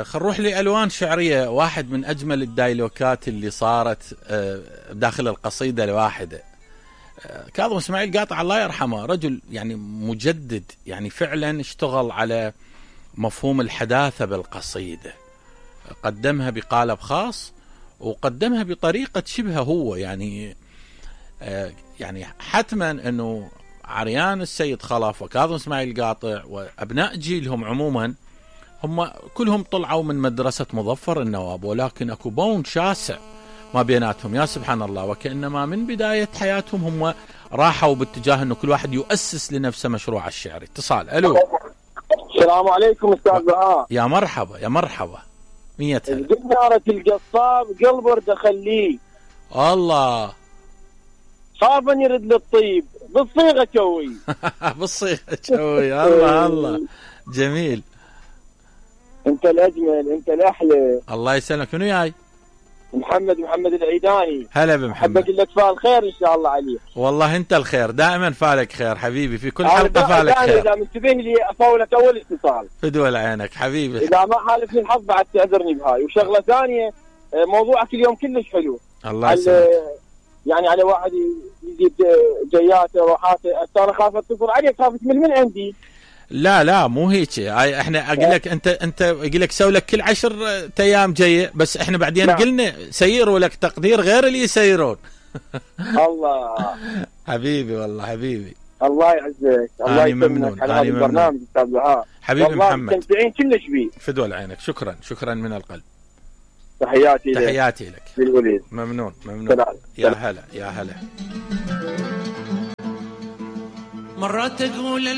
خل نروح لألوان شعرية. واحد من أجمل الدايلوكات اللي صارت داخل القصيدة الواحدة. كاظم اسماعيل قاطع الله يرحمه رجل يعني مجدد، يعني فعلا اشتغل على مفهوم الحداثة بالقصيدة، قدمها بقالب خاص وقدمها بطريقة شبه هو يعني حتما انه عريان السيد خلف وكاظم اسماعيل قاطع وابناء جيلهم عموما هم كلهم طلعوا من مدرسة مظفر النواب، ولكن اكو بون شاسع ما بيناتهم يا سبحان الله، وكأنما من بداية حياتهم هم راحوا باتجاه انه كل واحد يؤسس لنفسه مشروع الشعري. اتصال. الو. السلام عليكم استاذ بهاء. يا مرحبا يا مرحبا. 100 هلا. نارة القصاب قلب ورده خليه. الله. خافا يرد للطيب بالصيغة شوي. بالصيغة شوي. الله الله. جميل. انت الاجمل، انت الاحلى. الله يسلمك. منو جاي؟ محمد العيداني. هلا بمحمد. حبك لك فال خير ان شاء الله عليك. والله انت الخير، دائما فالك خير حبيبي، في كل حلقه فالك خير. اذا منتبه لي افولك اول اتصال. فدول عينك حبيبي. اذا ما حالفني الحظ بعد تعذرني بهاي. وشغله ثانيه، موضوعك اليوم كلش حلو. الله يسلمك. يعني على واحد يزيد جياته وراحاته، انا خاف اتصل عليك، خاف تمل من عندي. لا مو هيك، احنا اقول لك انت اقول لك سوي لك كل 10 ايام جايه، بس احنا بعدين نعم. قلنا سيروا لك تقدير غير اللي يسيرون. الله حبيبي والله حبيبي. الله يعزك. الله يسلمك على هذا البرنامج استاذ بهاء. حبيبي محمد. مستمتعين كلش بيه. فدول عينك. شكرا من القلب. تحياتي لك بالوليد. ممنون. يا هلا. مرات اقول